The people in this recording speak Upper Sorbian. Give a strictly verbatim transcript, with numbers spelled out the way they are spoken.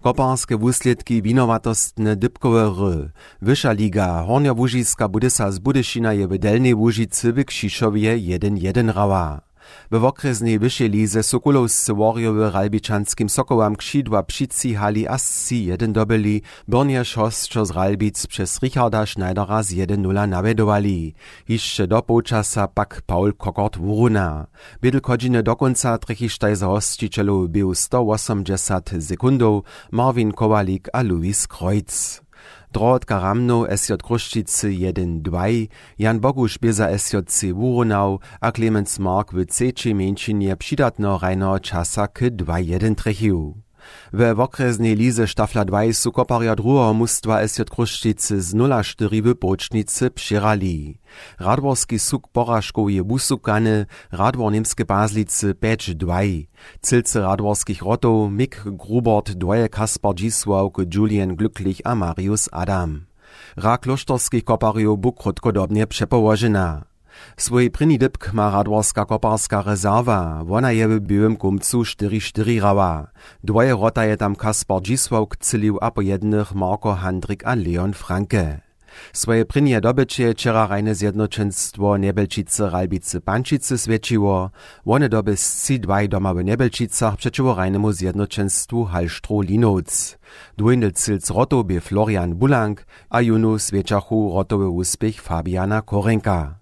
Koparske wuslědki winowatostne dypkowe hry. Wyša liga, Hornjołužiska Budysa z Budyšina je w Delnjej Łužicy w Křišowje jedyn jedyn hrała. We wokrjesnej wyšej lize su kulowscy Worjowy Ralbičanskim Sokołam křidła přicihali a sći jedyn dobyli, byrnjež hosćo z Ralbic přez Richarda Schneidera z jedyn nula nawjedowali. Hišće do połčasa pak Paul Kokort wuruna. Bědl chodźiny do kónca trjechištaj za hosćićelow běhu stowosomdźesat sekundow, Marvin Kowalik a Louis Kreuz. Drohotka Ramnow S J Chrósćicy jedyn dwaj, Jan Boguš bě za S J C wurunał a Clemens Mark w třećej mjeńšinje přidatneho hrajneho časa k dwaj jedyn trjechił. We wokrjesnej lize Stafla dwaj su koparjo druheho mustwa S J Chrósćicy z nula štyri w połčnicy přěhrali. Radworski suk poražkow je wusukany, Radwor Němske Pazlicy pjeć dwaj. Cylcy radworskich wrotow Mick Grubort dwoje, Kaspar Dźisławk, Julian Glücklich a Marius Adam. Hra klóšterskich koparjow bu krótkodobnje přepołožena. Swój prěni dypk ma radworska koparska rezerwa, wona je w běłym kómcu štyri štyri hrała. Dwoje wrota je tam Kaspar Dźisławk třělił a po jednych Marko Handrik a Leon Franke. Swoje prěnje dobyće je wčera hrajne zjednoćenstwo Njebjelčicy Ralbicy Pančicy swjećiło. Wone doby sći dwaj doma w Njebjelčicach přećiwo hrajnemu zjednoćenstwu Hallstroh Linowc. Dwójny cylc wrotow bě Florian Bulank a jónu swjećachu wrotowy wuspěch Fabiana Korenka.